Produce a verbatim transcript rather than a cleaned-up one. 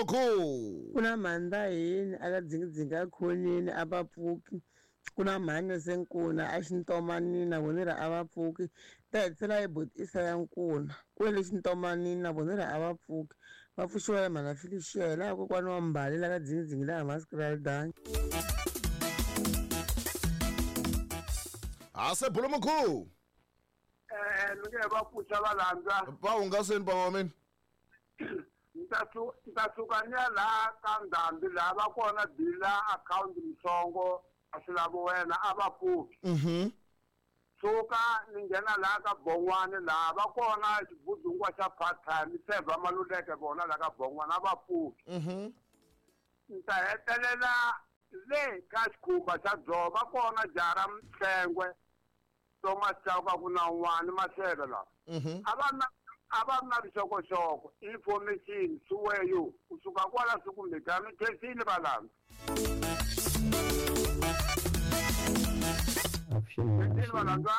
Bulumukhu. Ku na mhandza yini aka dzingidzingi a khonini a va pfuki. Ku na mhani se nkuna a xintomanini na vona ri a va pfuki. Ta hetisela hi botisa ya nkuna. Ku le xintomanini na vona ri a va pfuki. Va pfuxiwa hi mhana Felicia hi laha kokwani wa Mbali la ka dzingidzingi laha Maskraldani. Ase Bulumukhu. Eh ni nge va pfuxa va landza. Va hungaseni baba wa mina. Ni ta suka ni ya laha ka Ndhambi laha va kona bila akhawunti Msongo a swi lavi wena a va pfuki. Mhm. Suka ni nghena laha ka Bongwani laha va kona xibudungwa xa part time Sevha Maluleke vona laha ka Bongwani a va pfuki. Mhm. Ni ta hetelela le ka xikhumba xa dzovo va kona jara Mhlengwe Thomas Chauka ku na un'wana Maseve laha. Mhm. A va na a va na vuxokoxoko information suweyo kusuka kwala swi kumeka mi khensile valandza. Avuxeni Khensile valandza.